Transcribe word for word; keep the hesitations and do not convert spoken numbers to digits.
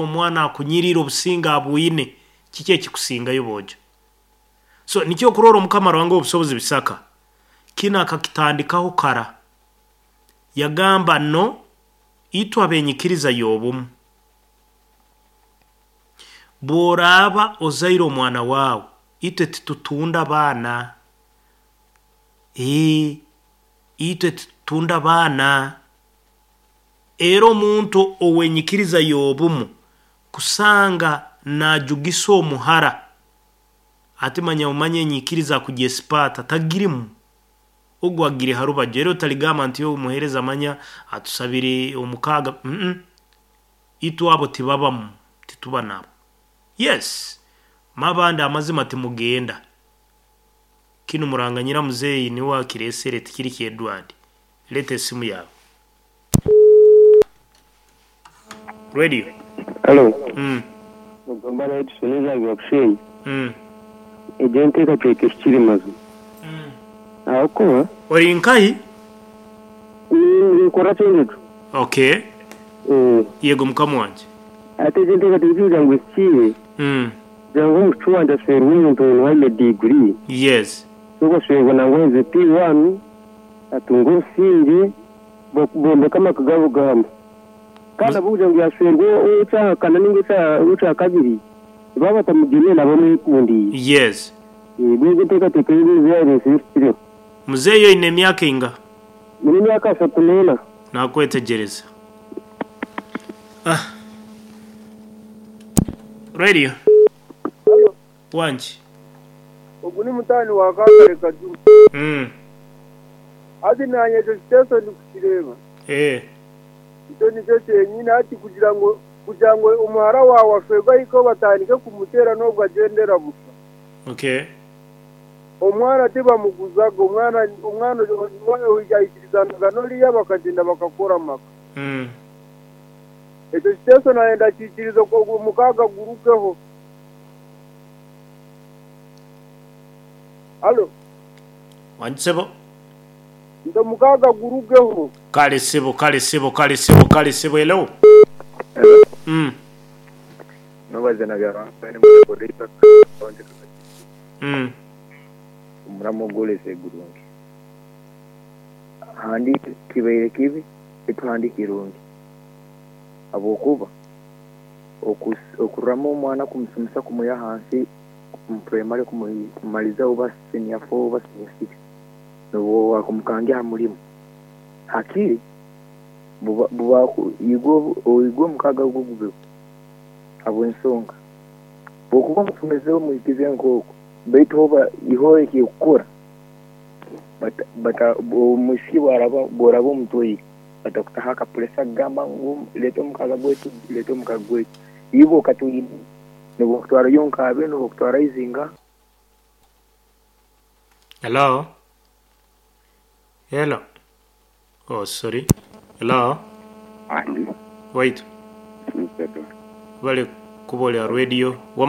Omwana akunyirire, obusinge abwine, kiki ekikusingayo, boojo? So nikyo okurora Omukama Ruhanga owobusobozi bisaka kinu akakitandikaho kara, yagamba no itwe abenyikiriza y'obumu, bworaaba ozaire omwana waawe, itwe titutunda baana, ee itwe titutunda baana. Era omuntu owenyikiriza y'obumu kusanga najugisa omuhara, ati manya omanye enyikiriza akugyesipaata tagirimu, ogu agiri harubaju. Era otarigamba nti omuheereza manya atusabire omukaaga, itwe abo tibabamu, tituba nabo. Yes, mabandi amazima timugenda, kinu Muranganyira muzeeyi niwe akireesere, tikiri kya Edward. Leeta esimu yaawe. Radio. Halo. Mm. Ogamba na Edson Ezange Bushenyi. Mm. Egyo enteekateeka ehikire mazima. Mm. Ahabw'okuba Ori nkahi? Ninkora Kyenjojo. Okay. Eh, Yego mukama wangye. Ate egyo enteekateeka kugira ngu ehikire, Mm. kugira ngu omushiki wangye ashwerwe omuntu oine diguri, Yes. ogashwerwa nangwa aherize P one, atunge obusingye, bo- bombeke amaka gaabo gahama. Kandi ahabw'okugira ngu yashwerwa okyahakana ninga okya- okyakabiri, baba batamugiine nabo bamwekundiire. Yes. Ebyo egyo enteekateeka ei yareesire ehikireho. Muzeeyi oine emyaka einga? Nyine emyaka ashatu n'ena. Nakwetegyereza. Ah. Radio. Halo, Wangi. ogu ni mutaani wa Kankare Kajuma. Mm. Hati nanye ekyo kiteeso ndikukireeba. Eh. Ekyo nikyo kyenyine hati kugira ngu kugira ngu omuhara waawe ashwerwe ahike batandike kumuteera n'obwo agyendera busha. Okay. Omwana tibamuguzaga, omwana omwana aikirizanaga n'oriya bakagyenda bakakora amaka. Mm. Ekyo kiteeso naanye ndakiikiriza ogu omukaaga gurugeho. Halo, Wangi sebo. nti omukaaga gurugeho. Kale sebo, kale sebo, kale sebo, kale sebo. Hello. Mm. Nobaza na Byaruhanga ni mukoreisa Mm. omuramo ogworese gurungi handi kibaire kibi etu handi kirungi habwokuba okus- okurama omwana kumusomesa kumuha ahansi mu primary kumumaliza oba senior four oba senior six nobwo wakumukangira aha murimo hakiri buba buba igwe igwe omukaga ogwo gubeho habw'ensonga bwokuba omusomezeho omuhikize nk'okwo baitu oba iho ekikukora bata bata omwisiki bwaraba bworaba omutwaire batakutaho akapuresa kugamba ngu leeta omukaga gwaitu, leeta omukaga gwaitu, iwe okatwine nibakutwarayo nkabe nibakutwara izinga. Hello. Hello. Oh, sorry. Hello. Andi Wait. Mseto. Bale kubolera radio.